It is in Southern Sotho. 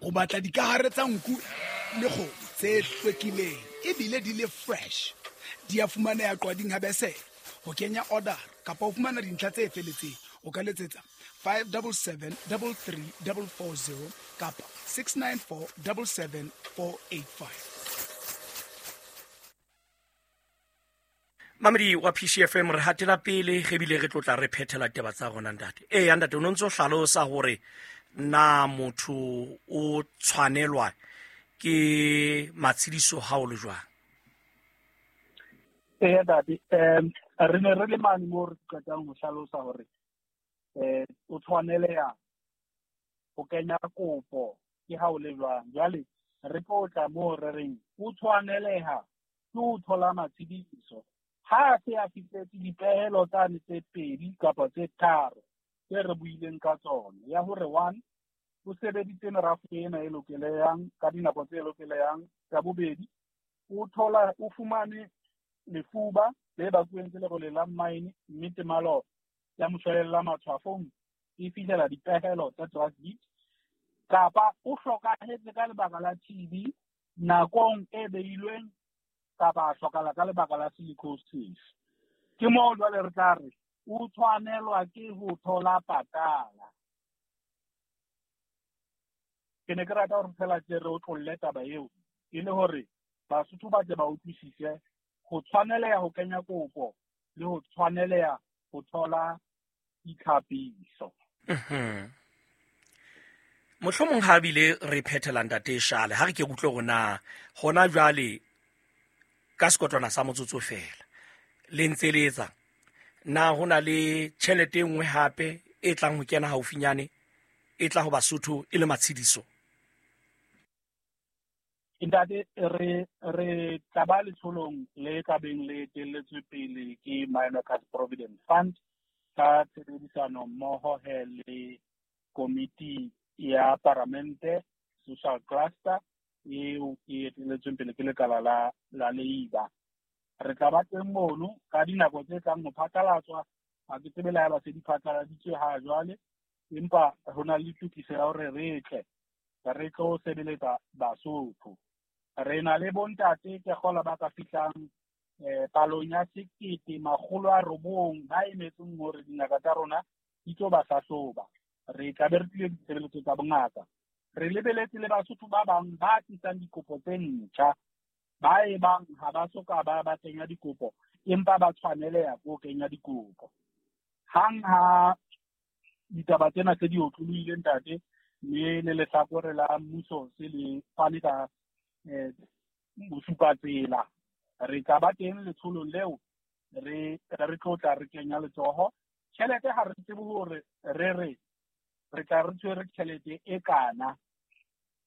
O batla dikahare tsa nku le kgomo tse hlwekileng ebile di le fresh. Di a fumaneha Qwading ha Besele. Ho kenya order kapa ho fumana dintlha tse feletseng o ka letsetsa 577 33440 kapa 694 77485. Mamedi wa PCFM, re hatela pele ge bile re tlotla re phethela taba tsa rona. Ntate, ee ntate, o ne ntse o hlalosa hore na motho o tshwanelwa ke matshediso ha o le jwang. Ee ntate, re ne re le mane moo re qetang ho hlalosa hore o tshwaneleha ho kenya kopo ke ha o le jwang. Jwale re tlo tla moo re reng o tshwaneleha ke ho thola matshediso ha a se a fihletse dipehelo tsane tse pedi kapa tse tharo tse re buileng ka tsona, ya hore one, o sebeditse merafo ena e lokelehang ka dinako tse lokelehang. Ka bobedi, o thola o fumane lefuba le bakuweng ke lerole la mine, mme temalo ya moshwelella matshwafong e fihlela dipehelo tsa drug beat, kapa o hlokahetse ka lebaka la TB nakong e beilweng, kapa a hlokala ka lebaka la silicosis. Ke moo jwale re tla re o tshwanelwa ke ho thola patala. Ke ne ke rata hore fela ke re o tlolle taba eo e le hore Basotho ba tle ba utlwisise ho tshwaneleha ho kenya kopo le ho tshwaneleha ho thola ditlhapiso. Mohlomong ha bile re phethela, ntate Shale, ha re ke utlwe hore na hona jwale ka sekotlwana sa motsotso fela le ntse le etsa na ho na le tjhelete e nngwe hape e tlang ho kena haufinyane e tla ho Basotho e le matshediso? Ntate, re tla ba letsholong le ka beng le etelletswe pele ke Mineworkers Provident Fund ka tshebedisano mmoho he le komiti ya paramente social cluster eo e etelletsweng pele ke lekala la Labour. Re tla ba teng mono ka dinako tse tlang ho phatlalatswa. Ha ke tsebe le ha eba se di phatlaladitswe ha jwale, empa ho na le tokiso ya hore re tle re tlo sebeletsa Basotho. Re na le bontate ke kgola ba ka fihlang palong ya 1900 ba emetseng hore dingaka tsa rona di tlo ba hlahloba. Re tla be re tlile ditshebeletso tsa bongaka. Re lebeletse le Basotho ba bang ba tlisang dikopo tse ntjha, ba e bang ha ba soka ba kenya dikopo, empa ba tshwaneleha ko kenya dikopo. Hang ha ditaba tsena tse di otlolohile ntate, mme le lehlakore la mmuso se le fane ka bosupatsela, re tla ba teng letsholong leo, re tlo tla re kenya letsoho. Tjhelete ha re tsebe hore re re tla re tshwere tjhelete e kana.